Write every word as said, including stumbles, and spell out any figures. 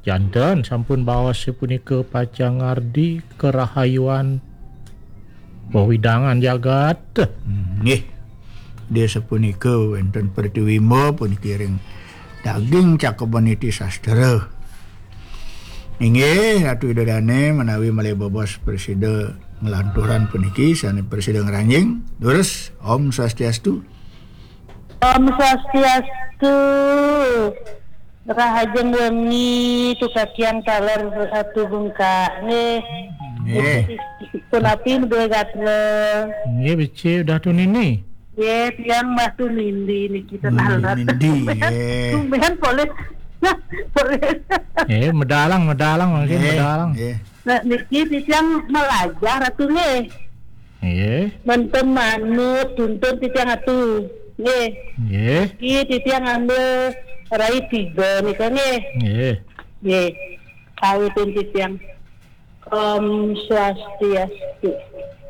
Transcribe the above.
Janten sampun baos sapunika pacang ngardi karahayuan wewidangan jagat. Nggih. Dia sapunika wenten pratiwimba puniki ring daging Cakepan Niti Sastra. Inggih, Ratu Ida Dane menawi malih bebos prasida nglanturan puniki sane prasida ngranjing. Durus, Om Swastiastu. Om Swastiastu. Rahajeng wengi, tukatiang taler Ratu Bungka. Nggih. Nggih. Punapi Dwe Gatra? Nggih, becik Datu Nini. Nggih, tiang Mbah Tumindi niki. Hmm, taler. Tumindi, nggih. Tumben polih. Polih. Nggih, medalang, medalang, mangkin. Nggih, medalang. Nggih. Nah, niki titiang malajah Ratu nggih. Nggih. Menten manut tuntun titiang Ratu. Nggih. Nggih. Niki titiang ngambil rai tiga nika nggih. Nggih. Nggih. Kawitin titiang. Om Swastiastu.